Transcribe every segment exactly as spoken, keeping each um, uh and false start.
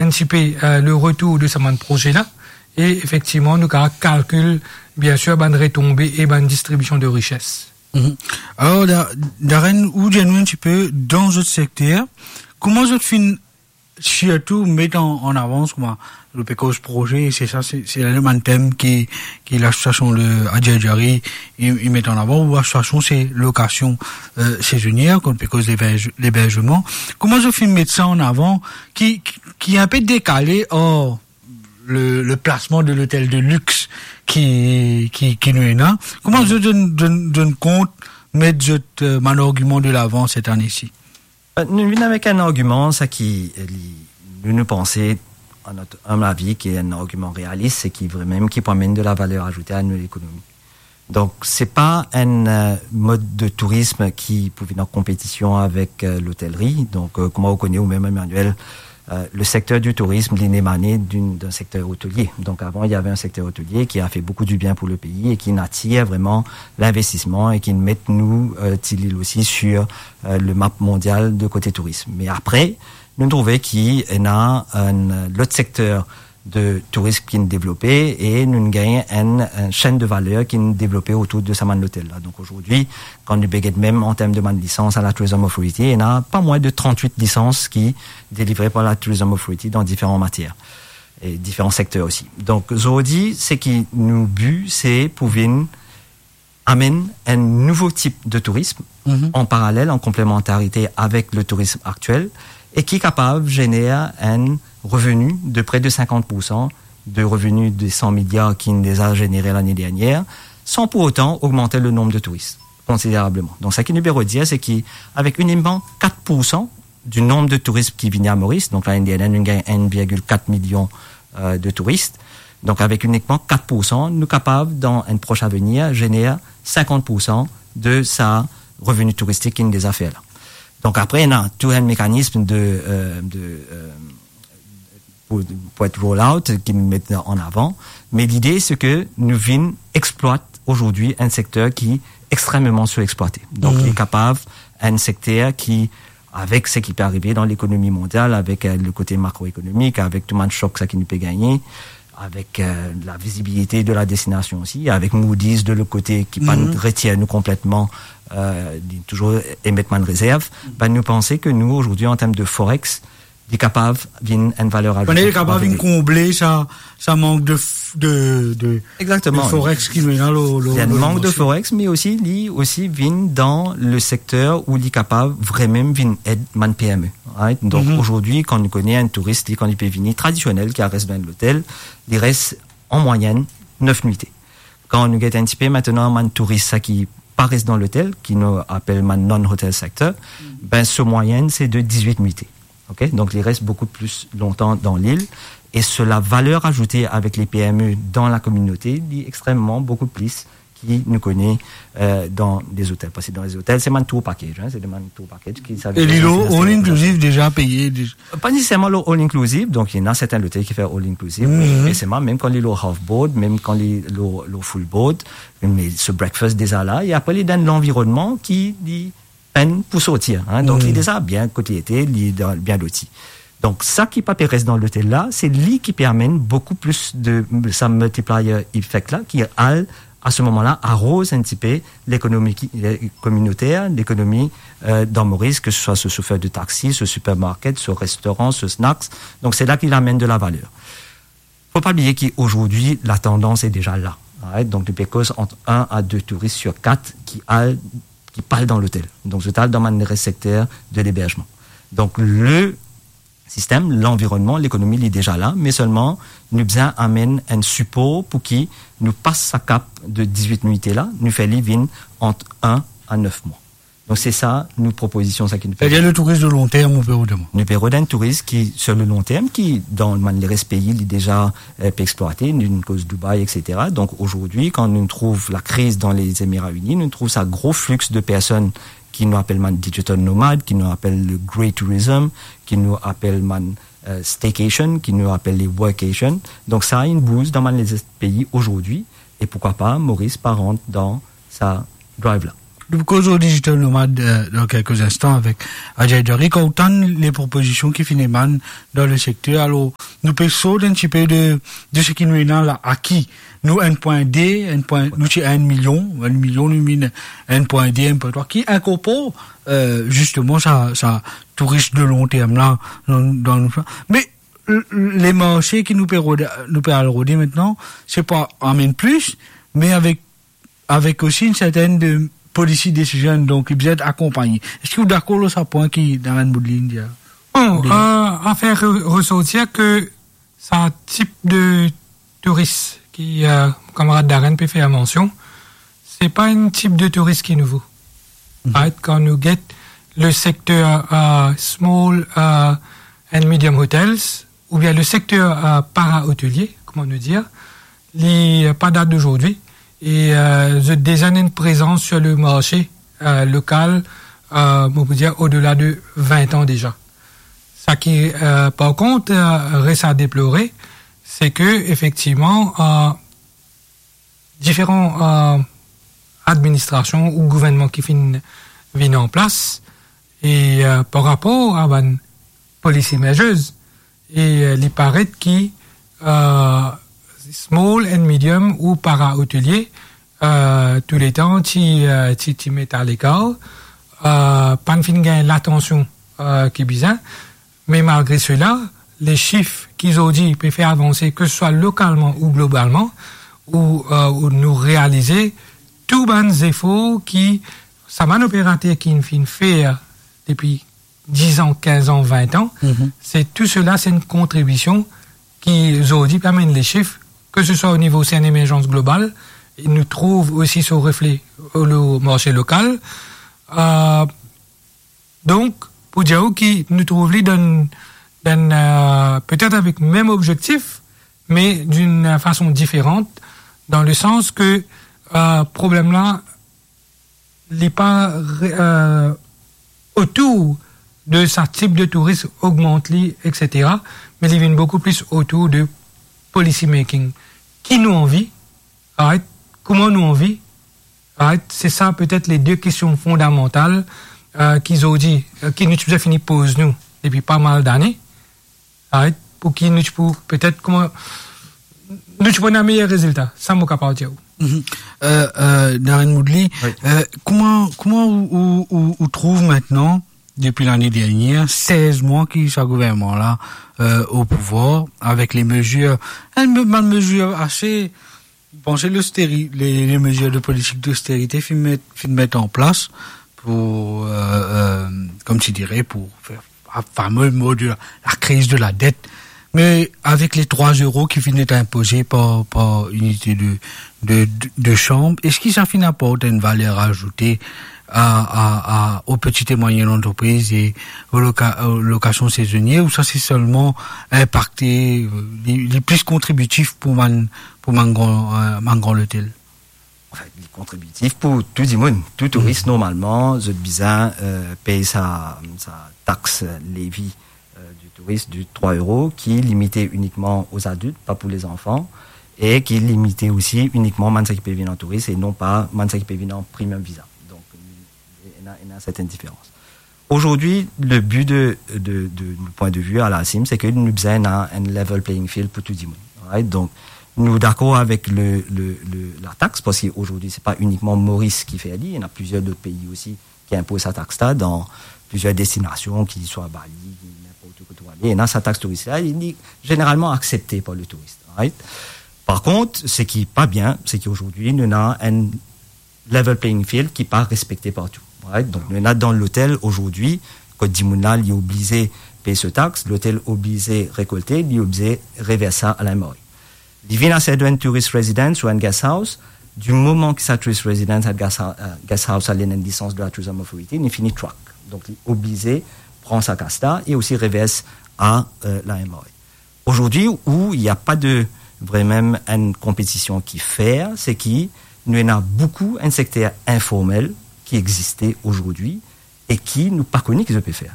Antisipe, euh, le retour de sa bann proze la, e efektivman, nou kapav kalkil, bien sir, bann retonbe e bann distribision de rises. Mhm. Alor, Da-, Darren, ou dir nou enn tipe, dan zot sekter, kouma zot finn sirtou met an, an avans, kouma, nou pe koz proze, se sa, se, se la bann tem ki, ki lasosiasion de Adjari Djari, i, i met an avan, ou lasosiasion se lokasion, euh, sezonier, kan nou pe koz leberz-, leberzman. Kouma zot finn met sa an avan, ki, ki, ki enpe dekale, or, le, le plasman de lotel de lix ki, ki, ki nou ena. Kouma zot donn, donn, donn kont, met zot, euh, bann argiman de lavan set ane si? Euh, nou vinn avek enn argiman, sa ki, euh, li, nou, nou panse, a not inb avi, ki enn argiman realis, e ki vremem ki pou amenn de la valer azoute a nou lekonomi. Donk, se pa enn, euh, mod de tourism ki pou vinn an konpetision avek, euh, lotelri. Donk, euh, kouma ou kone ou mem, Emmanuel, euh, le secteur du tourisme, li nek ane d'in, d'un secteur hôtelier. Donc, avant, il y avait un secteur hôtelier qui a fait beaucoup du bien pour le pays et qui attire vraiment l'investissement et qui met nou, euh, ti lil osi, sur, euh, le map mondial de kote tourism. Me apre, nou trouve ki ena enn lot sekter de tourism ki'nn devlope e nou gagn enn, enn chaîne de valeur ki'nn devlope otour de sa bann lotel la. Donk, azordi, kan nou pe get mem an term de bann lisans a la Tourism Authority, ena pa mwin de trant-wit lisans ki delivre par la Tourism Authority dan diferan matier e diferan sekter osi. Donk, azordi, seki nou bi, se pou vinn amenn enn nouvo tip de tourism, mhm, an paralel, an konplemantarite avek le tourism aktiel, e ki kapav zener enn reveni de pre de sinkant pour san de reveni de san miliar ki'nn deza zenere lane dernier, san pour otan ogmante le nonb de touris konsiderableman. Donk, seki nou pe redir, se ki avek inikman kat pour san du nonb de touris ki vini a Moris, donk, lane dernier, nou gagn enn virgil kat milion, euh, de touris. Donk, avek inikman kat pour san, nou kapav, dan enn pros avenir, zener sinkant pour san de sa reveni touristik ki'nn deza fer la. Donk, apre, ena tou enn mekanism de, euh, de, euh, pou, pou et roll out, ki nou met an avan. Me lide, se ke nou vinn eksplwat azordi enn sekter ki extrememan sou-eksplwate. Donk, mm, li kapav enn sekter ki, avek seki pe arive dan lekonomi mondial, avek, euh, le kote makroekonomik, avek tou bann sok sa ki nou pe gagne, avek, euh, la vizibilite de la destinasion osi, avek Moody's de lot kote ki pa, mhm, retir nou konpletman, euh, li touzour emet bann rezerv, ben, nou panse ke nou, azordi, an term de forex, li kapav vinn enn valer azoute. Li kapav vinn konble sa, sa mank de f-, de, de, de forex ki nou ena lo, lo, lo, mank de forex, me osi, li osi vinn dan le sekter ou li kapav vremem vinn ed bann P M E, right? Donk, mhm, azordi, kan nou kone enn touris, li, kan li pe vini tradisionel, ki al res dan lotel, li res an mwayenn nef nwite. Kan nou get enn tipe aster bann touris sa ki pa res dan lotel, ki nou apel bann non-hotel sector, ben, so mwayenn, se de dizwit nwite. Ok? Donk, li res boukou pli lontan dan lil. E so la valer azoute avek le P M E dan la kominote, li extrememan boukou plis ki nou kone, euh, dan lezotel. Parski dan lezotel, se bann tour package, hein, se de bann tour package ki, sa ve dir, all inclusive deza peye, deza. Pa neseserman lo all inclusive, donk, ena sertin lotel ki fer all inclusive, mhm, me, me selman, mem kan li lo half board, mem kan li lo, lo full board, me so breakfast deza la, e apre, li dan lanvironnman ki li pinn pou sorti, hein. Donk, li, mm, deza bien kot li ete, li dan, bien loti. Donk, sa ki pa pe res dan lotel la, se li ki pe amenn boukou plis de sa multiplier effect la, ki al, a se moman la, aroz enn tipe lekonomi ki, le, kominoter, lekonomi, euh, dan Moris, ke se swa so sofer de taxi, so supermarket, so restoran, so snacks. Donk, se la ki li amenn de la valer. Fo pa bliye ki azordi, la tandans est déjà là, right? Donk, nou pe koz ant enn a de touris sir kat ki al, ki pa al dan lotel. Donk, zot al dan bann res sekter de leberzman. Donk, le sistem, lanvironnman, lekonomi, li deza la, me selman, nou bizin amenn enn sipor pou ki nou pas sa kap de dizwit nwite la, nou fer li vinn ant enn a nef mwa. Donk, se sa nou propozision, sa ki nou pe... Savedir le touris de long term, ou pe rod. Nou pe rod enn touris ki, sur le long terme, ki dan bann leres pei, li deza, euh, pe eksplwate, nou koz Dubai, et cetera. Donk, azordi, kan nou trouv lakriz dan Lezemira Ini, nou trouv sa gro flix de personn ki nou apel bann digital nomad, ki nou apel le grey tourism, ki nou apel bann, euh, staycation, ki nou apel le workation. Donk, sa inn bouz dan bann lezot pei azordi, e poukwa pa Moris pa rant dan sa drive la. Nou pou koz ar digital nomad, euh, dan kelke instan avek Ajay Dary. Kan ou tann le propozision ki finn emann dan le sekter, alor, nou pe sort enn tipe de, de seki nou ena la, aki. Nou enn pwin de, enn pwin, nou ti enn milion, enn milion nou vinn enn pwin de, enn pwin trwa, ki inkorpor, euh, zisteman sa, sa touris de lon term la, dan, dan nou, me l-, l-, le marse ki nou pe rode, nou pe al rode aster, se pa amenn plis, me avek, avek osi enn sertenn de policy decision, donk li bizin et akonpagne. Eski ou dakor lor sa pwin ki Darren Moodley inn dir? Bon, Bien. Euh, a fer re-, resortir ke sa tip de touris ki, euh, kamarad Darren pe fer mansion, se pa enn tip de touris ki nouvo. Mhm. Right? Kan nou get le sekter, euh, small, euh, and medium hotels, oubien le sekter, euh, para-otelie, kouma nou dir, li, euh, pa dat d'aujourd'hui. E, euh, zot deza ena enn prezans sur le marse, euh, lokal, euh, mo pou dir, odela de vin an deza. Sa ki, euh, par kont, euh, res a deplore, se ke, efektivman, euh, diferan, euh, administrasion ou gouvernman ki finn vinn an plas, e, euh, par rapor a bann policy measures, e, euh, li paret ki, euh, small and medium ou para-otelie, euh, touletan ti, euh, ti, ti met alekar, euh, pa'nn finn gagn latansion, euh, ki bizin. Me malgre sela, le sif ki zordi pe fer avanse, ke se swa lokalman ou globalman, ou, euh, ou nou realize tou bann zefor ki sa bann operater ki finn fer depi diz an, kinz an, vin an, Mhm. se tou sela, se enn kontribision ki zordi pe amenn le sif, ke se swa o nivo, se enn emerzans global, e nou trouv osi so refle o lo-, marse lokal. Euh, donk, pou dir ou ki nou trouv li dan, dan, euh, petet avek mem obzektif, me d'une fason diferan, dan le sans ke, euh, problem la, li pa re-, euh, otour de sa tip de touris, ogmant li, et cetera, me li vinn boukou plis otour de policy making. Ki nou anvi, right? Kouma nou anvi, right? Se sa petet le de kestion fondamantal, euh, ki zordi, euh, ki nou ti bizin fini poz nou depi pa mal dane. Right? Pou ki nou ti pou, petet, kouma nou ti pou ena meyer rezilta, sa mo kapav dir ou. Mhm. Euh, euh, Darren Moodley, Oui. euh, kouma, kouma ou, ou, ou, ou trouv aster, depi lane dernier, sez mwa ki sa gouvernman la, euh, o pouvwar, avek le mezir, enn me-, bann mezir ase, panse losteri-, le, le mezir de politik dosterite finn met, finn met an plas pou, euh, euh, kouma ti dire, pou fer fame mo de la, la kriz de la det. Me avek le trwa euro ki finn et inpoze par, par inite de, de, de, de sanm, eski sa finn aport enn valer azoute a, a, a, aux petites et moyennes entreprises e aux loca-, aux locations saisonnières, ou sa se selman inpakte, euh, li, li plis kontribitif pou bann, pou bann gran, euh, bann gran lotel? Anfin, li kontribitif pou tou dimoun, tou touris, Mm. normalman, zot bizin, euh, pey sa, sa tax, levi, euh, du tourisme de trwa euro, ki limite inikman aux adultes, pa pou les enfants, e ki limite osi inikman bann sa ki pe vinn an touris e non pa bann sa ki pe vinn an premium visa. Donk, ena, ena sertenn diferans. Aujourd'hui, le but de, de, de, le point de vue à la CIM, se ke nou bizin ena enn level playing field pou tou dimoun. Right? Donk, nou dakor avek le, le, le, la tax, parski aujourd'hui, se pa inikman Moris ki fer li, ena plizier lot pei osi ki inpoz sa tax la dan plizier destinasion, ki swa Bali, ki ninport kot ou ale. Ena sa tax touris la, li, li zeneralman aksepte par le touris, right? Par kont, seki pa bien, se ki aujourd'hui, nou ena enn level playing field ki pa respekte partou, right? Donk, nou ena dan lotel aujourd'hui, kot dimoun la, li oblize pey so tax, lotel oblize rekolte, li oblize revers sa a la M R A. Li vinn aster dan enn tourist residence ou enn guest house, di moman ki sa tourist residence, sa guest hou-, euh, guest house la, li ena enn lisans de la Tourism Authority, li fini track. Donk, li oblize pran sa kas la e osi revers a, euh, la M R A. Aujourd'hui, où il n'y a pas de, vraiment enn konpetision ki fer, se ki nou ena boukou enn sekter informel ki existe aujourd'hui e ki nou pa kone ki zot pe fer.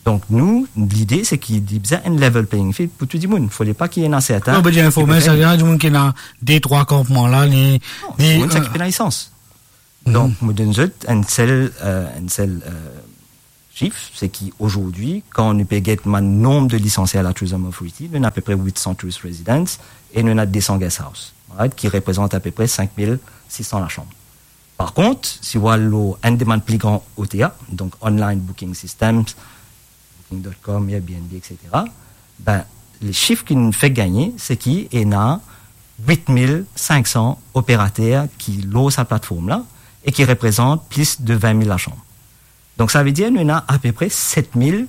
Donk, nou, lide, se ki li bizin enn level playing field pou tou dimoun. Fode pa ki ena serten Non, be, ki informel, pe fer sa vedir dimoun ki ena de, trwa kanpman la, li, Non, li, dimoun sa euh, ki pena lisans. Donk, mo donn zot enn sel, euh, enn sel, euh, sif, se ki azordi, kan nou pe get bann nonb de lisansie a la Tourism Authority, nou ena apepre wit san tourist residence e nou ena de san guest house, right, ki reprezant apepre sink mil sis san lasanm. Par kont, si ou al lor enn de bann pli gran O T A, donk online booking systems, booking dot com, Airbnb, et cetera, ben, le sif ki nou fek gagne, se ki ena wit mil sink san operater ki lor sa platform la e ki reprezant plis de vin mil lasanm. Donk, savedir nou ena apepre set mil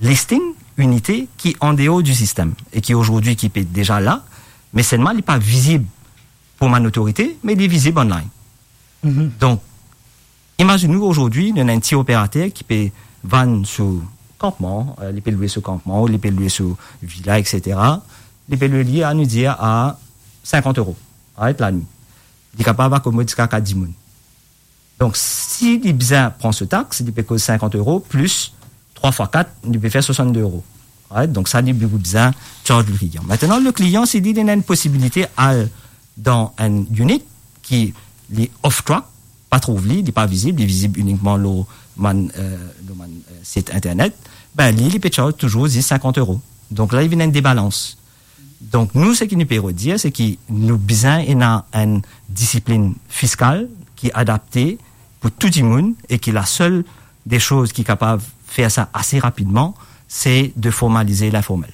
listing, inite ki andeor di sistem e ki azordi ki pe deza la, me selman li pa vizib pou bann otorite, me li vizib online. Donk, imazinn ou azordi, nou ena enn ti operater ki pe vann so kanpman, euh, li pe lwe so kanpman, ou li pe lwe so vila, et cetera. Li pe lwe li, anou dir, a sinkant euro, right, lanwit. Li kapav akomod ziska kat dimoun. Donk, si li bizin pran so tax, li pe koz sinkant euro plis trwa fwa kat, li pe fer swasannde euro. Right? Donk, sa, li bizin charge le klian. Aster, le klian, si li, li ena enn posibilite al dan enn unit ki li off track, pa trouv li, li pa vizib, li vizib inikman lor bann, euh, lor bann, euh, sit internet, ben, li, li pe charge touzour zis sinkant euro. Donk la, li vinn enn debalans. Donk, nou, seki nou pe redir, se ki nou bizin ena enn disiplinn fiskal ki adapte pou tou dimoun e ki lasel de soz ki kapav fer sa ase rapidman, se de formalize linformel.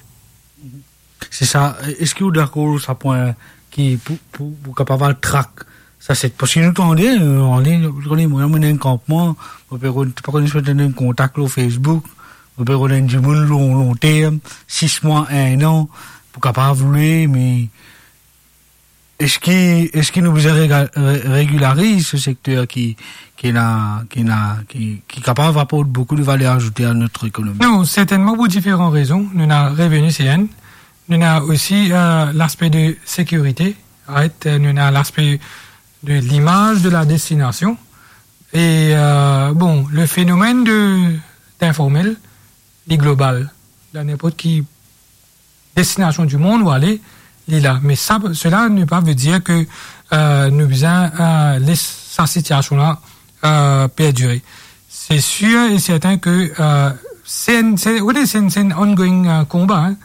Se sa. Eski ou dakor sa pwin ki pou, pou, pou kapav al trak sa, se, parski nou tande, euh, an lign, nou tande, mwa, mwa, enn kanpman, mo pe, pa kone si mo ena enn kontak lor Facebook, mo pe rod enn dimoun lon, lonterm, sis mwa, enn an, pou kapav lwe, me eski, eski nou bizin rega-, re-, regilariz se sekter ki, ki ena, ki ena, ki, ki kapav aport boukou de valer azoute a not ekonomi? Non, sertennman pou diferan rezon. Nou ena reveni, se enn. Nou ena osi, euh, laspe de sekirite, right? Nou ena laspe de limaz de la destinasion. E, euh, bon, le fenomenn de, d'informel, li global. Dan ninport ki destinasion di mond ou ale, li la. Me sa, sela ne pa ve dir ke, euh, nou bizin, euh, les sa sitiasion la, euh, perdire. Se sir e sertin ke, euh, se enn, se, ou konnen, se enn, se enn ongoing, euh, konba, hein,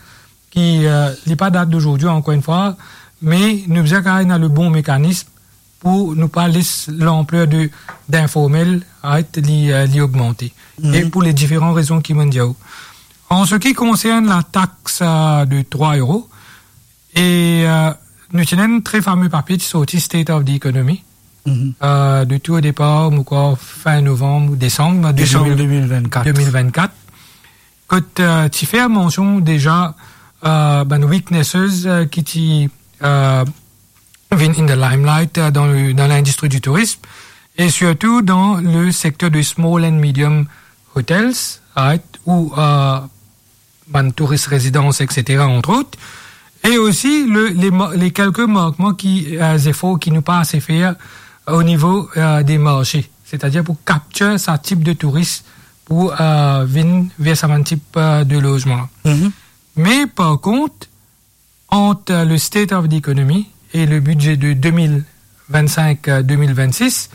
ki, euh, li pa dat dazordi, ankor enn fwa, me nou bizin kapav ena le bon mekanism pou nou pa les lanpler de, d'informel, right, li, euh, li ogmante. E pou le diferan rezon ki mo'nn dir ou. An se ki konsern la tax, euh, de trwa euro, e, euh, nou ti ena enn tre fame papie ki sorti, State of the Economy, euh, de tou o depar, mo krwar, fin novanm ou desanm, Desanm de mil, de mil vennkat. De mil vennkat. Kot, euh, ti fer mansion deza, euh, bann weaknesses, euh, ki ti, euh, vinn in the limelight, euh, dan le, dan lindistri di tourism, e sirtou dan le sekter de small and medium hotels, right, ou, euh, bann touris rezidans, et cetera, entre autres, e osi le, le ma-, le kelke mankman ki, euh, zefor ki nou pa ase fer o nivo, euh, de marse, setadir pou capture sa tip de touris pou, euh, vinn ver sa bann tip, euh, de lozman. Me par kont, ant, euh, le State of the Economy e le bidze de de mil vennsink, euh, de mil vennsis,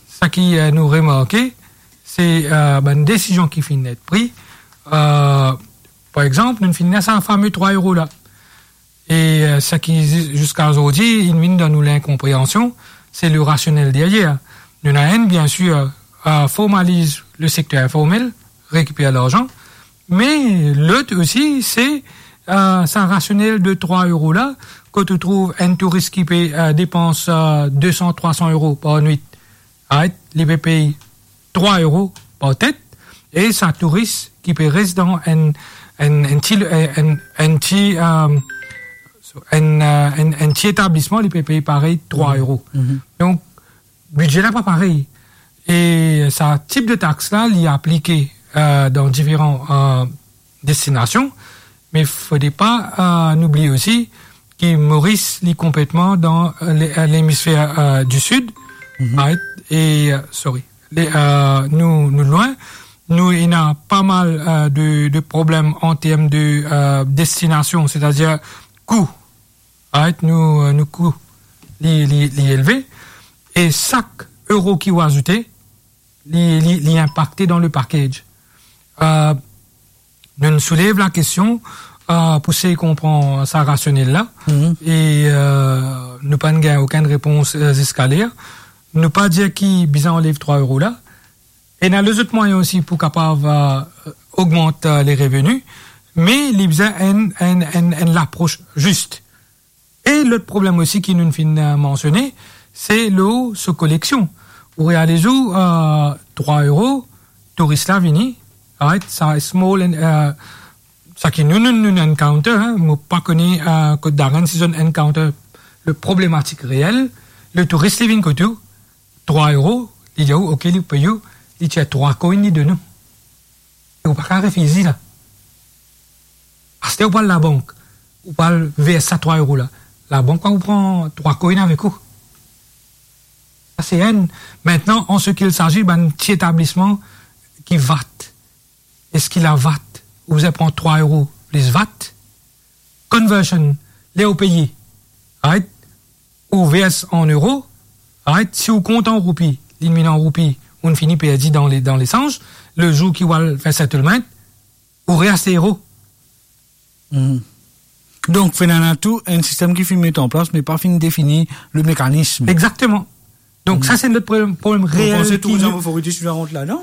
sa ki, euh, nou remarke, se, euh, bann desizion ki finn et pri. Euh, par exanp, nou finn ena sa fame trwa euro la. E, euh, sa ki zi-, ziska zordi, inn vinn dan nou linkonpreansion, se le rasionel deryer. Nou ena enn, bien sir, euh, formaliz le sekter informel, rekiper larzan, me lot osi, se, euh, sa rasionel de trwa euro la, kot ou trouv enn touris ki pe, euh, depans, euh, de san, trwa san euro par nwit, right? Li pe pey trwa euro par tet, e sa touris ki pe res dan enn, enn, enn ti, enn, enn ti, euh, enn, euh, enn, enn ti etablisman, li pe pey parey trwa euro. Donk, bidze la pa parey. E sa tip de tax la, li aplike, euh, dan diferan, euh, destinasion, me fode pa, euh, nou bliye osi ki Moris, li konpletman dan, euh, le-, euh, lemisfer, euh, di sid, right? E, euh, sorry, le-, euh, nou, nou lwin, nou ena pa mal, euh, de, de problem an term de, euh, destinasion, setadir kou, right? Nou, euh, nou kou li, li, li elve. E sak euro ki ou azoute, li, li, li inpakte dan le package. Euh, nou, nou soulev lakestion, euh, pou sey konpran sa rasionel la. Mhm. E, euh, nou pa'nn gagn okenn repons, euh, ziska ler. Nou pa dir ki bizin anlev trwa euro la. Ena lezot mwayin osi pou kapav, euh, ogmant, euh, le reveni, me li bizin enn, enn, enn, enn lapros zis. E lot problem osi ki nou finn, euh, mansione, se lor so koleksion. Ou realiz ou, euh, trwa euro, touris la vini, right? Sa small and, euh, sa ki nou, nou, nou encounter, hein, mo pa kone, euh, kot Darren si zot encounter le problematik reel, le touris li vinn kot ou, trwa euro, li dir ou, ok, li pey ou, li tir trwa coin, li donn ou. E ou pa kapav refize la. Aster ou pou al labank, ou pou al vers sa trwa euro la. Labank pa pou pran trwa coin avek ou. Sa se enn. Mintnan, an se ki il sazi bann ti etablisman ki VAT. Eski la VAT, ou bizin pran trwa euro plis VAT? Conversion, ler ou peye, right? Ou vers an euro, right? Si ou kont an roupi, li vinn an roupi, ou fini perdi dan le, dan lesanz. Le zour ki ou al fer settlement, ou reaste euro. Hmm. Donk, finn ena tou enn sistem ki finn met an plas, me pa finn defini le mekanism. Egzakteman. Donk, hmm, sa se lot problem, problem reel. Ou panse ki Tourism Authority ti rant ladan?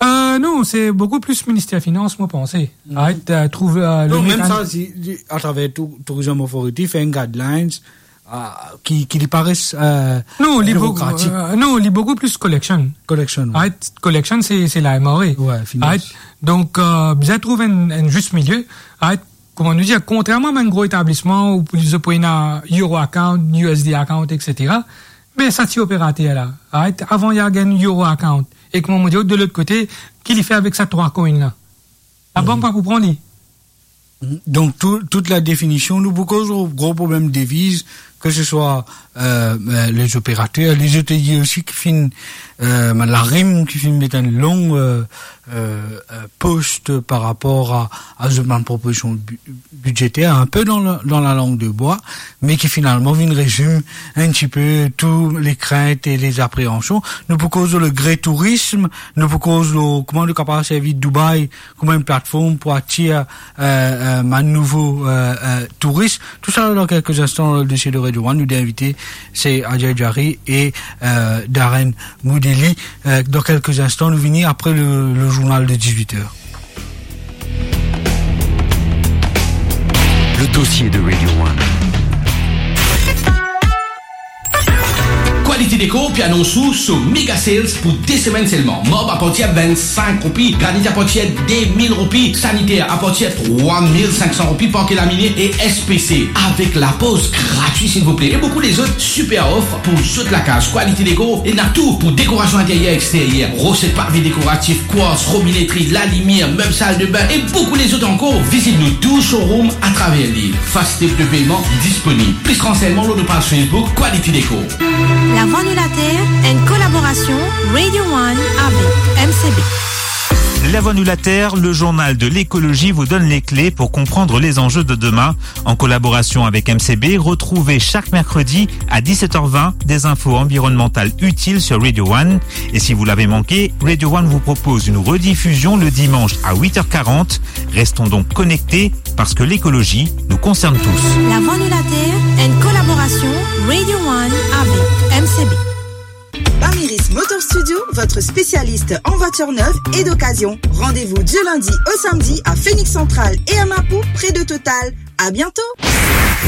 Euh, non, se boukou plis Minister Finans, mo panse. Hmm. Right, euh, trouv, euh, le mekanism. Non, mem sa, si, si, atraver tou, Tourism Authority, fer enn guidelines, euh, ki, ki li pa res, euh, birokratik. Non, li boukou, euh, non, li boukou plis collection. Collection, wi. Right? Collection, se, se la M R A. Wi, finans. Right? Donk, euh, bizin trouv enn, enn zis milie. Right? Kouma nou dir, kontrerman a bann gro etablisman, ou pou, pou ena euro account, U S D account, et cetera, me sa ti operater la, right? Avan, li gagn euro account. E kouma mo dir, de lot kote, ki li fer avek sa trwa coin la? Labank pa pou pran li. Donk, tou, tout la definision, nou pou koz gro problem deviz, ke se swa, euh, euh, lezoperater, lezotelier osi ki finn, euh, la RIM ki finn met enn long, euh, euh, euh, post par rapor a, a zot bann propozision bi-, bidzeter, inpe dan la, dan la lang de bwa, me ki finalman vinn rezim enn tipe tou le krint e le zapreansion. Nou pou koz le gre tourism, nou pou koz kouma nou kapav servi Dubai kouma enn platform pou atir, euh, euh, bann nouvo, euh, euh, touris. Tou sa dan kelke zinstan, dan le dosie de Radio One, nou de invite, se Adja Jari e, euh, Darren Moudili. Euh, dan kelke zinstan, nou vini apre le, le zournal de dizuit er. Le dossier de Radio One. Quality Decor pe anons ou so mega sales pou de semenn selman. Marb apartir vinn-sink roupi, granit apartir de mil roupi, saniter apartir trwa mil sink san roupi, parke lamine e S P C. Avek lapoz gratwi, silvouple. E boukou lezot siper of pou zot lakaz. Quality Decor ena tou pou dekorasion interyer, exteryer, rose, pave dekoratif, kwarts, robinetri, lalimier, meb sal de bin e boukou lezot ankor. Vizit nou tou showroom atraver lil. Fastep de peyman disponib. Plis ransegnman lor nou paz Facebook Quality Decor. Lavwa nou later, enn kolaborasion Radio One avek M C B. Lavwa nou later, le journal de l'écologie vous donne les clés pour comprendre les enjeux de demain. En collaboration avec M C B, retrouvez chaque mercredi à dix-sept heures vingt des infos environnementales utiles sur Radio One. Et si vous l'avez manqué, Radio One vous propose une rediffusion le dimanche à huit heures quarante. Restons donc connectés parce que l'écologie nous concerne tous. Lavwa nou later, enn kolaborasion Radio One avek M C B. Bamiris Motor Studio, votre spécialiste en voitures neuves et d'occasion. Rendez-vous du lundi au samedi à Phoenix Central et à Mapou, près de Total. À bientôt.